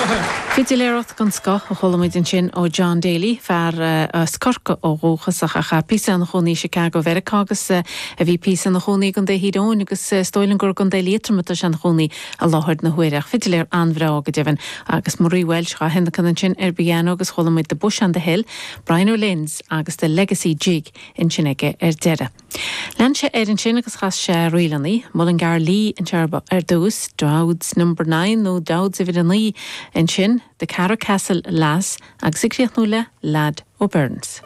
Fidiléireacht den scoth a chuala muid ansin ó John Daly, fear as Corcaigh ó dhúchas ach a chaith píosa ina chónaí i Chicago Mheiriceá agus a bhí píosa ina chónaí i gContae Thír Eoghain agus is dóigh liom gur i gContae Liatroma atá sé ina chónaí i láthair na huaire. Ach fidiléir an-bhreá go deimhin agus Marie Walsh dhá thionlacan ansin ar an bpianó agus chuala muid The Bush on the Hill, Brian O'Lynn's agus The Legacy Jig ansin aige ar deireadh. Lean sé air ansin agus chas sé ríleanna, Mullingar Lee anseo ar dtús, Dowd's Number Nine nó Dowd's Uimhir a Naoi ansin, The Carracastle Lass agus ag críochnú le Lad O'Byrne's.